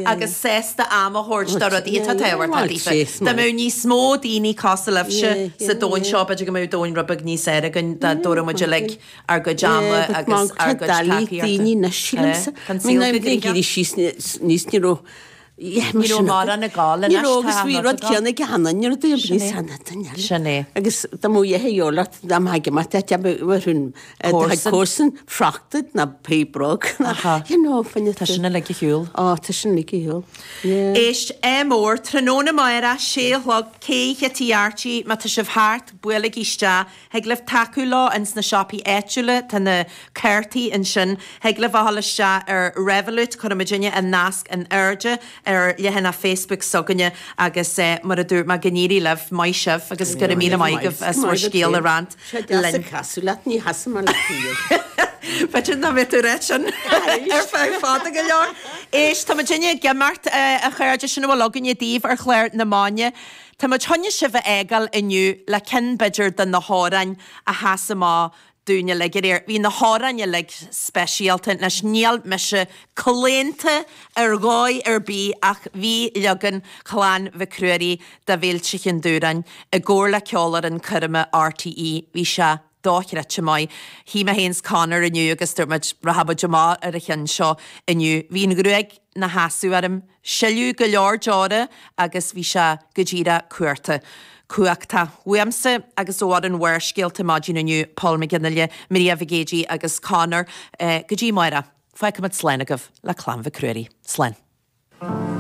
Agus sásta am a thabhairt do rudaí atá tábhachtach daofa. Dá mbeadh níos mó daoine cosúil libhse sa domhan seo, b'fhéidir go mbeadh domhan rud beag níos fhearr againn dá dtabharfadh muid uilig ár gcuid ama agus ár gcuid tacaíochta. Tá an saol go gnoitheach. Ní raibh mórán ag gabháil anois, Ní raibh agus bhí rud céanna ag Hannah, ní raibh duine níos sine duine eile. Sin é. Agus dá mbeadh a dheoladh dá mbeadh ag imeacht ait ar Comharsan friochtad ná pé brog ná you know fá choinne Tá sin uilig ar shiúl. Ó tá sin uilig ar shiúl. Yeah. Éist, ádh mór, tráthnóna amárach, sé a chlog, Cé Chití Archie, má tá sibh thart, buailigí isteach. Thig libh tacú leo ins na siopaí áitiúla, tá na cártaí ansin. Thig libh a dhul isteach ar Revolut, cuirfidh muidinne an nasc in airde ar leathanach Facebook s'againne agus mar a dúirt mé, go n-éirí libh, maith sibh agus go raibh míle maith agaibh as bhur scéal a roinnt Sé deas linn. ag casadh leat, ní chasfaidh mé leat riamh. B'fhéidir nach mbeidh tú ag ráit sin ar feadh fada go leor. Éist, tá muidinne ag imeacht, a chairde, sin a bhfuil againne daoibh ar chlár na Maidine. Tá muid chun sibh a fhágáil inniu le ceann b'fhéidir de na hamhráin a sheas amach dúinn uilig aréir. Bhí na hamhráin uilig speisialta. Anois níl mise claonta ar dhóigh ar bith ach bhí leagan Chlann Mhic Ruairí de Mhílte Chinn Dúráin i gcomhar le Ceolfhoireann Coirme RTÉ, bhí sé dochreidte maith. Shuigh mé féin 's Conor inniu agus dúirt muid, rachaidh muid amach ar an cheann seo inniu. Bhí an ghruaig 'na sheasamh orm. Sileadh go leor deora agus bhí sé go díreach cuarta. Cumhachtach. Uaimse agus ó fhoireann Bharrscéalta maidin inniu, Paul McGinley, Maria Mhic Géidigh agus Conor, go dtí amárach. Fágfaimid slán agaibh le Clann Mhic Ruairí. Slán.